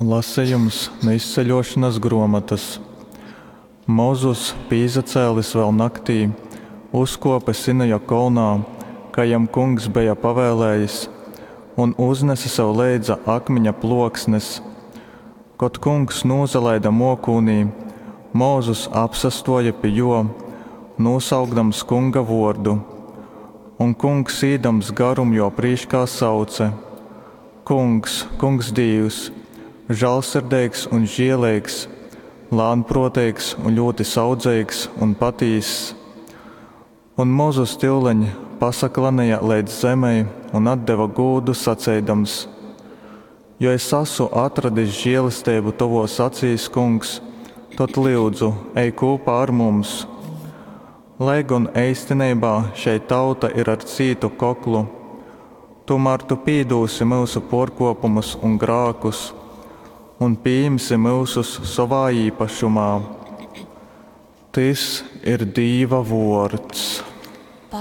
Lasejums nu Izceļōšonas grōmotas. Mozus, pīsacēlis vēl naktī, uzkōpe Sinaja kolnā, kai jam Kungs beja pavēlējis, un uznese sev leidza akmiņa plōksnes. Kod Kungs nūsalaide mōkūnī, Mozus apsastōja pi jō, nūsaukdams Kunga vōrdu. Un Kungs, īdams garum jō prīškā, sauce, Kungs, Kungs Dīvs, žālsirdeigs un žieleigs, lānprōteigs un ļūti saudzeigs un patīss. Un Mozus tyuleņ pasaklaneja leidz zemei un atdeva gūdu, saceidams, Jo es asu atradis želesteibu tovōs acīs, Kungs, tod, lyudzu, ej kūpā ar mums. Lai gon eistineibā šei tauta ir ar cītu koklu, tūmār tu pīdūsi myusu pōrkōpumus un grākus un pījimsi myusus sovā īpašumā. Tys ir Dīva vōrds.